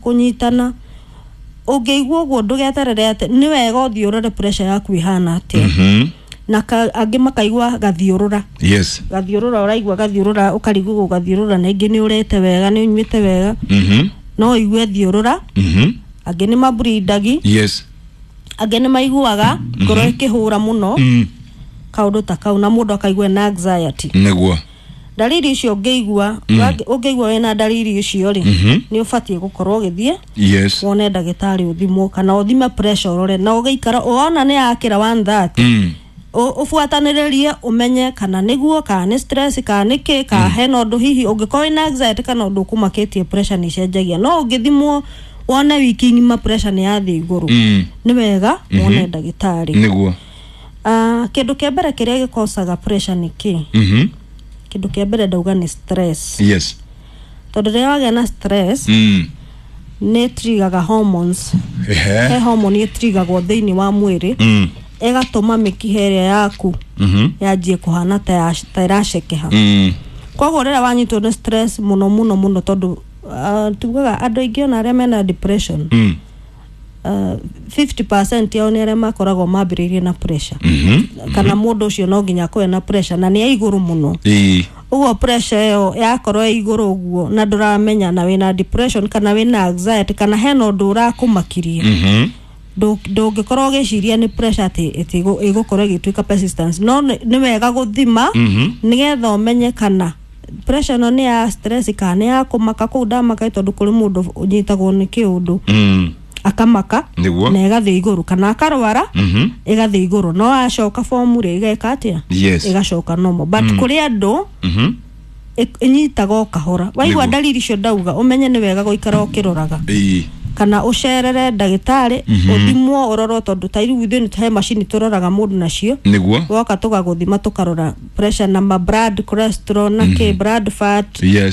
Kũnyitana ũngĩigua ũguo, ndũgeterere atĩ nĩ wega ũthiĩ ũrore pressure yaku ĩhana atĩa. Na angĩ makaigua gathiũrũra. Gathiũrũra, ũraigua gathiũrũra, ũkarigwo gathiũrũra, na ingĩ nĩ ũrĩte wega, nĩ ũnyuĩte wega, no ũigue thiũrũra. Angĩ nĩ maburindagi. Angĩ nĩ maiguaga ngoro ĩkĩhũra mũno, kaũndũ ta kau, na mũndũ akaigua na anxiety. Ndariri icio ũngĩigua, ũngĩigua wĩna ndariri icio rĩ, nĩ ũbatiĩ gũkorwo ũgĩthiĩ wone ndagĩtarĩ, ũthimwo kana ũthime pressure, ũrore na ũgĩikara wona nĩ yakĩra 130, ũbuatanĩrĩrie ũmenye kana nĩguo, kana nĩ stress, kana nĩ kĩ, kana hena ũndũ hihi ũngĩkorwo wĩna anxiety kana ũndũ ũkũmakĩtie. Pressure nĩ icenjagia, no ũngĩthimwo wone wiki ng'ima pressure nĩ yathiĩ igũrũ, nĩ wega wone ndagĩtarĩ. Ah, kĩndũ kĩa mbere kĩrĩa gĩkocaga pressure nĩ kĩ? Kĩndũ kĩa mbere ndauga nĩ stress, tondũ rĩrĩa wagĩa na stress, nĩ trigaga hormones. He hormone ĩtrigagwo thĩinĩ wa mwĩrĩ, ĩgatũma mĩkiha ĩrĩa yaku yanjie kũhana ta ĩracekeha. Koguo rĩrĩa wanyitwo nĩ stress mũno mũno mũno, tondũ tugaga andũ aingĩ ona arĩa mena depression, 50% yao nĩ arĩa makoragwo mambĩrĩirie na pressure, kana mũndũ ũcio no nginya akorwo na pressure na nĩ ya igũrũ mũno. Ũguo pressure ĩyo yakorwo ĩ igũrũ ũguo na ndũramenya na wĩna depression kana wĩna anxiety kana hena ũndũ ũrakũmakirie, ndũngĩkorwo ũgĩciria nĩ pressure atĩ ĩgũkorwo ĩgĩtuĩka persistence. No nĩ wega gũthima nĩgetha ũmenye kana pressure ĩno nĩ ya stress kana nĩ ya kũmaka kũu ndamaka, tondũ kũrĩ mũndũ ũnyitagwo nĩ kĩũndũ akamaka na ĩgathiĩ igũrũ, kana akarwara ĩgathiĩ igũrũ, no acoka form rĩ, ĩgeka atĩa? Ĩgacoka normal. But kũrĩ andũ ĩnyitaga o kahora. Waigua ndariri icio ndauga, ũmenye nĩ wega gũikara ũkĩroraga kana ũcerere ndagĩtarĩ, ũthimwo, ũrorwo, tondũ ta rĩu ithuĩ nĩ he macini tũroraga mũndũ nacio. Woka tũgagũthima, tũkarora pressure na ma blood cholesterol na kĩ, blood fat,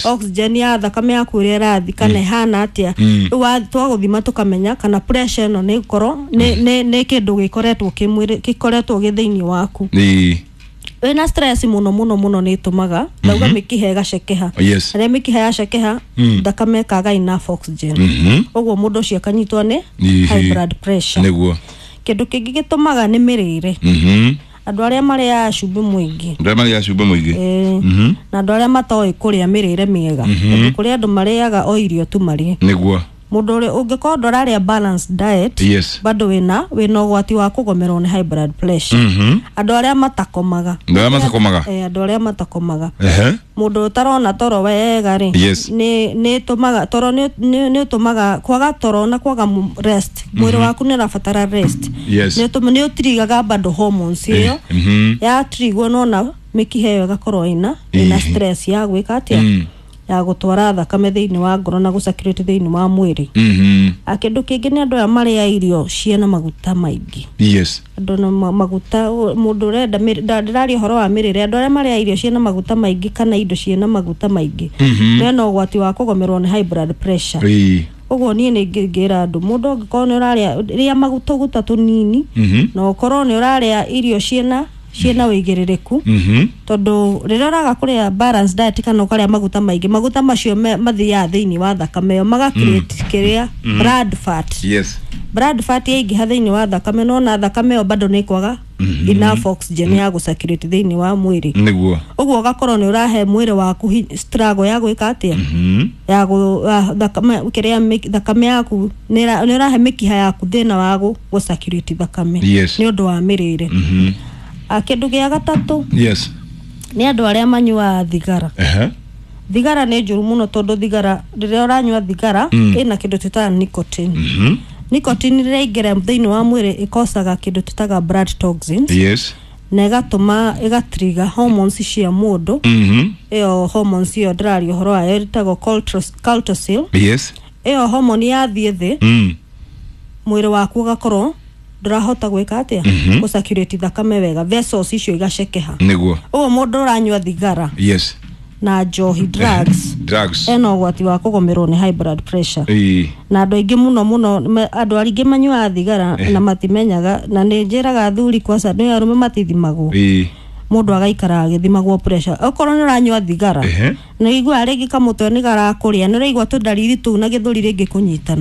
oxygen ya thakame yaku ũrĩa ĩrathi kana ĩhana atĩa. Rĩu twagũthima tũkamenya kana pressure ĩno nĩ gũkorwo nĩ kĩndũ gĩkoretwo kĩ mwĩrĩ, gĩkoretwo gĩ thĩinĩ waku. Wĩna stress mũno mũno mũno nĩ ĩtũmaga ndauga mĩkiha ĩgacekeha. Rĩrĩa mĩkiha yacekeha, thakame ĩkaga enough oxygen, ũguo mũndũ ũcio akanyitwo nĩ high blood pressure. Kĩndũ kĩngĩ gĩtũmaga nĩ mĩrĩre. Andũ arĩa marĩaga cumbĩ mũingĩ. Andũ arĩa marĩaga cumbĩ mũingĩ. Ĩĩ. Na andũ arĩa matoĩ kũrĩa mĩrĩre mĩega, tondũ kũrĩ andũ marĩaga o irio tu marĩe. Mũndũ ũrĩa ũngĩkorwo ndũrarĩa balanced diet, bado wĩna ũgwati wa kũgomerwo nĩ high blood pressure. Andũ arĩa matakomaga. Andũ arĩa matakomaga. Eh, andũ arĩa matakomaga. Mũndũ ũtarona toro wega rĩ, nĩ ĩtũmaga toro, nĩ ũtũmaga kwaga toro na kwaga rest. Mwĩrĩ waku nĩ ũrabatara rest. Nĩ ũtirigaga bado hormones ĩyo. Yatirigwo, nona mĩkiha ĩyo ĩgakorwo ĩna stress ya gwĩka atĩa? Ya gũtwara thakame thĩinĩ wa ngoro na gũcirculate thĩinĩ wa mwĩrĩ. A kĩndũ kĩngĩ nĩ andũ aya marĩa irio ciĩna maguta maingĩ. Andũ na maguta, mũndũ ũrenda ndĩraria ũhoro wa mĩrĩre. Andũ arĩa marĩa irio ciĩna maguta maingĩ kana indo ciĩna maguta maingĩ mena ũgwati wa kũgomerwo nĩ high blood pressure. Ũguo niĩ nĩ ngĩra andũ, mũndũ angĩkorwo nĩ ũrarĩa, rĩa maguta tũguta tũnini, na ũkorwo nĩ ũrarĩa irio ciĩna wĩigĩrĩrĩku, tondũ rĩrĩa ũraga kũrĩa balanced diet kana ũkarĩa maguta maingĩ, maguta macio mathiaga thĩinĩ wa thakame ĩyo, maga create kĩrĩa blood fat. Blood fat yaingĩha thĩinĩ wa thakame, nona thakame ĩyo bado nĩ ĩkwaga enough oxygen ya gũcirculate thĩinĩ wa mwĩrĩ. Ũguo ũgakorwo nĩ ũrahe mwĩrĩ waku struggle ya gwĩka atĩa? Ya thakame kĩrĩa thakame yaku nĩ ũrahe mĩkiha yaku thĩna wa gũcirculate thakame nĩ ũndũ wa mĩrĩre. Ah, kĩndũ gĩa gatatũ nĩ andũ arĩa manyuaga thigara. Thigara nĩ njũru mũno, tondũ thigara, rĩrĩa ũranyua thigara, ĩna kĩndũ twĩtaga nicotine. Nicotine rĩrĩa ĩingĩra thĩinĩ wa mwĩrĩ, ĩkocaga kĩndũ twĩtaga blood toxins na ĩgatũma ĩgatriga hormones cia mũndũ. Ĩyo hormones ĩyo ndĩraria ũhoro wayo ĩtagwo cortisol. Ĩyo hormone yathiĩ thĩ, mwĩrĩ waku ũgakorwo ndũrahota gwĩka atĩa? Gũcirculate thakame wega, vessels icio igacekeha. Ũguo mũndũ ũranyua thigara na njohi, drugs, Drugs. ena ũgwati wa kũgũmĩrwo nĩ high blood pressure. Na andũ aingĩ mũno mũno, andũ aingĩ manyuaga thigara na matimenyaga, na nĩ njĩraga athuri kwaca nĩ arũme matithimagwo. Mũndũ agaikara agĩthimagwo pressure. Okorwo nĩ ũranyua thigara, nĩ ũiguaga rĩngĩ kamũtwe nĩ garakũrĩa, nĩ ũraigua tũndariri tũu na gĩthũri rĩngĩ kũnyitana.